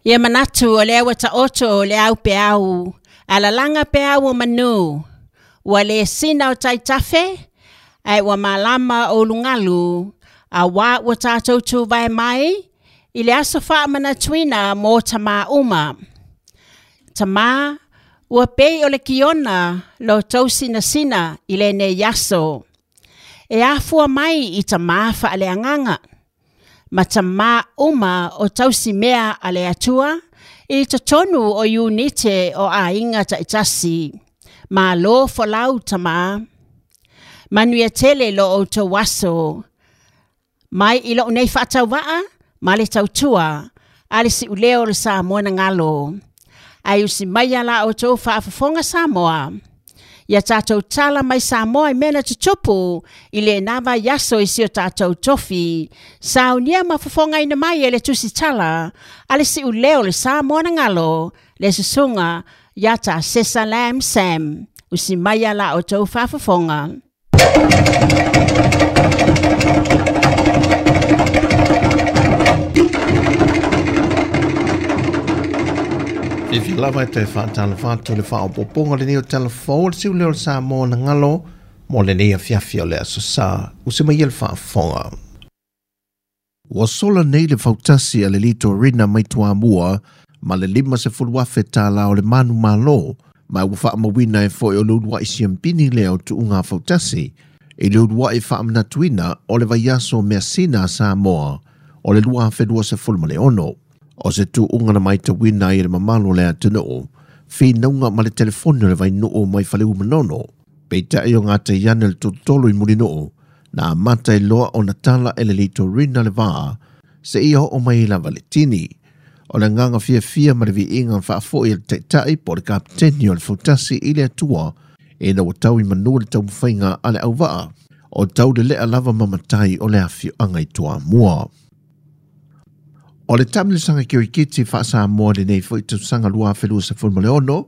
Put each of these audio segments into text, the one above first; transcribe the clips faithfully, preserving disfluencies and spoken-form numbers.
Ia manatu o le ua taoto o le au pe au, alalanga pe au o manu, ua le sina o taitafe, ai ua malama o lungalu, a wā ua tātou tū vai mai, i le aso whaamanatuina mō tamā uma. Tamā, ua pei o le kiona lo tau sinasina i le nei aso. E afua mai i tamā whaaleanganga. Ma tamā uma o tausi mea a le atua, i totonu o iunite o aiga taitasi. Malo folau tamā. Manuia tele lo outou aso. Mai i lou nei faatauvaa, ma le tautua, a le siuleo o le Samoa na galo. Ae usi maia la outou faafofoga Samoa. Ia tatou tala mai Samoa i mea na tutupu i lena vaiaso i si o tatou tofi. Saunia ma fofogaina mai e le tusitala a le siuleo o le Samoa na galo, le susuga ia Tasesa Lam Sam. Usi maia la outou faafofoga. Fiafia lava e toe faatalofa atu le faaopoopoga lenei o Tala Fou o le Siuleo o le Samoa na galo mo lenei afiafi o le aso sa usi mai le faafofoga. Ua sola nei le fautasi a le Litorina mai Toamua ma le lima sefulu afe tālā o le manu malo ma ua faamauina e foi o le uluai siampini lea o tuuga fautasi i le uluai faamanatuina o le vaiaso measina a Samoa o le lua afe lua sefulu ma le ono. O se tuuga na maitauina ai le mamalu o le atunuu, finauga ma le telefoni o le vainuu mai Faleu Manono, peitai o gataiane le tolotolo i Mulinuu, na amata i loa ona tala e le Litorina le vaa, seia oo mai lava le tini. O le agaga fiafia ma le viiga faafoi e le taitai po o le kapeteni o le fautasi i le Atua, ina ua tau i manu le taumafaiga a le auvaa, o tau lelea lava ma matai o le afioaga i Toamua. O le taamilosaga kirikiti faa-Samoa lenei foi tausaga lua afe lua sefulu ma le ono,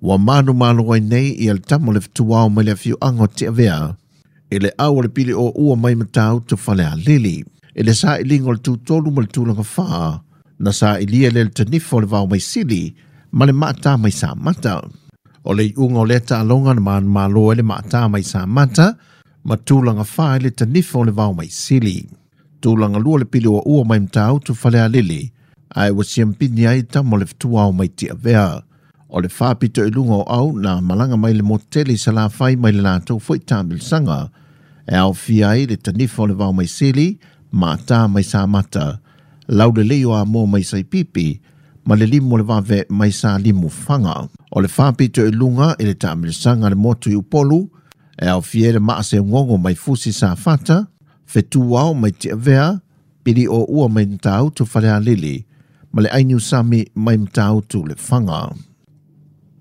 ua manumalo ai nei ia le tama o le fetuao mai le afioaga o Tiavea, i le au o le pili o ua mai Matautu Falealili. I le sailiga o le tutolu ma le tulaga fā, na sailia le le tanifa o le vao mai Sili ma le maatā mai Samata. O le iuga o lea taaloga na manumalo ai le maatā mai Samata ma tulaga fā i le tanifa o le vao mai Sili. Tulaga lua le pili o ua mai Matautu Falealili, ae ua siampini ai tama o le fetuao mai Tiavea. O le faapito i luga o au na malaga mai le motele i Salafai mai le latou foi taamilosaga, e aofia ai le tanifa o le vao mai Sili, maatā mai Samata, laulelei o Amoa mai Saipipi, ma le limu o le vave mai Salimufaga. O le faapito i luga i le taamilosaga le motu i Upolu, e aofia ai le maaseugogo mai Fusi Safata, fetuao mai Tiavea, pili o ua mai Matautu Falealili, ma le Ainiusami mai Matautu Lefaga.